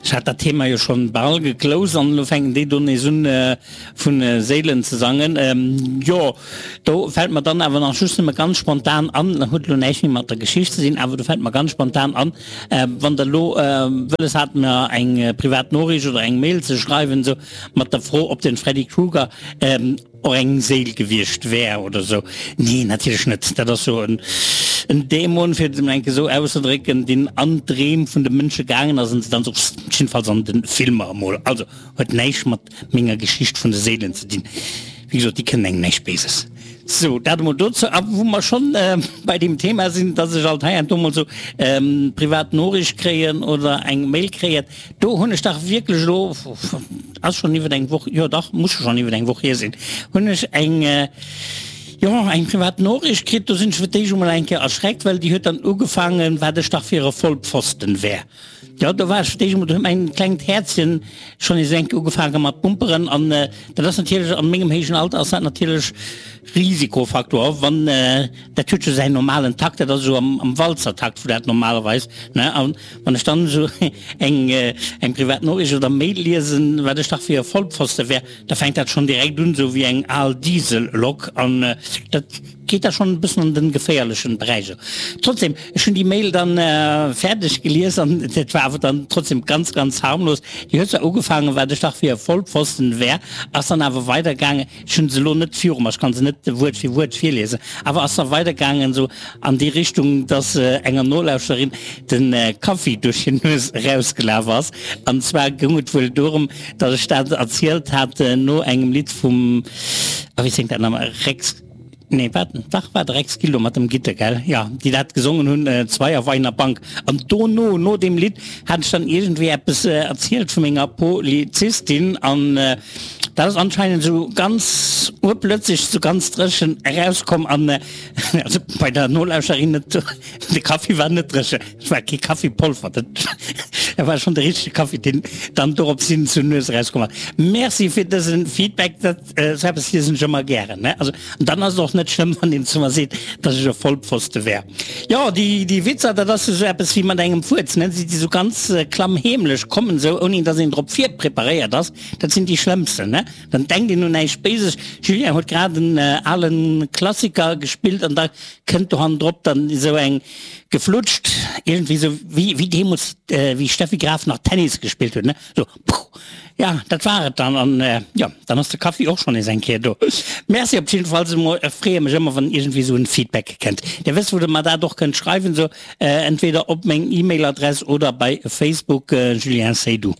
Ech hat dat Thema jo schonn bal geclosed an elo fänken déi do nees un vun Séilen ze sangen. Jo, do fält mer dann awer nach just nëmme ganz spontan an, huet elo näischt méi mat der Geschicht ze dinn, awer do fält mer ganz spontan an, wann der elo wëlles hat mer eng privat Noriicht oder eng Mail ze schreiwen esou mat der Fro ob den Freddy Krueger och eng Séil gewiescht wär oder sou. Nee, natierlech net. Dat ass jo en Dämon, fir et emol eng Kéier esou auszedrécken, deen an d'Dreem vun de Mënsche gaangen ass an se dann esou, jiddefalls an de Filmer emol. Also huet näischt mat menger Geschicht vun de Séilen ze dinn. Wéi gesot, déi kënnen engem näischt Béises. Sou, dat emol dozou. A wou mer schonn bei deem Thema sinn, dass ech alt hei an do emol sou privat Noriicht kréien oder eng Mail kréien, Do hunn ech dach wierklech elo, ass schonn iwwer eng Woch, jo dach, muss schonn iwwer eng Woch hier sinn, hunn ech eng, jo, eng privat Noriicht kritt. Do sinn ech fir d'éischt emol eng Kéier erschreckt, well déi huet dann ugefaangen, wat ech dach fir e Vollpfosten wär. Jo, do war ech fir d'éischt emol, do huet mäin klengt Häerzchen schonn nees eng Kéier ugefaange mat pumperen. An dat ass natierlech, an mengem héijen Alter ass dat natierlech Risikofaktor, wann, dat huet jo säin normalen Takt, dat ass esou am Walzertakt, wou dat normalerweis, ne, an Wann ech dann esou eng eng privat Noriicht oder Mail liesen, wat ech dach fir e Vollpfoste wär, da fänkt dat schonn direkt un esou wéi eng al Diesellok an dat geet da schonn e bëssen an den geféierlechen Beräich. Trotzdem, ech hunn déi Mail dann fäerdeg gelies an dat war awer dann trotzdem ganz ganz harmlos. Déi huet zwar ugefaangen, wat ech dach fir e Vollpfosten wär, ass dann awer weidergaangen, Ech hunn se elo net viru mer, ech kann se net Wuert fir Wuert virliesen, awer ass da weidergaangen esou an déi Richtung, dass enger Nolauschterin de Kaffi duerch hir Nues erausgelaf ass. An zwar goung et wuel dorëm, dass ech dat erzielt hat no engem Lidd vum, ah wéi séngt dat nach emol, Rex, nee wat, dach war de Rex Gildo mat dem Gitter, gell, jo, déi dat gesongen hunn, Zwei auf einer Bank. An dono, no deem Lidd, hat ech dann iergendwéi eppes erzielt vu menger Polizistin an Dat ass anscheinend esou ganz urplötzlech, esou ganz dréchen erauskomm an also bei der Nolauschterin net, de Kaffi war net dréchen, et war kee Kaffipolver, dat war schonn de richtege Kaffi, deen dann dorops hin zur Nues erauskomm ass. Merci fir dëse Feedback, dat esou eppes liesen ech ëmmer gären, ne. Also an dann ass et och net schlëmm, wann een zu mer seet, datt ech e Vollpfoste wär. Jo, déi déi Witzer, dat ass esou eppes wéi mat engem Fuerz, ne, déi esou ganz klammheemlech kommen, esou ouni datt een drop virpreparéiert ass. Dat sinn déi schlëmmsten, ne? Dann denkt een un näischt Béises. Julien huet grad en alen Klassiker gespillt an da kënnt do hannendrop dann esou eng geflutscht, iergendwéi esou wéi wéi deemools wéi Steffi Graf nach Tennis gespillt huet, ne? Esou puh! Ja, dat war et dann an jo, dann ass de Kaffi och schonn nees eng Kéier do. Merci op jiddefalls emol. Ech freeë mech ëmmer wann iergendwéi esou en Feedback kënnt. Dir wësst wou der mer dat och kënnt schreiwen, esou entweder op meng E-Mail Adress oder bei Facebook, Julien Seydoux.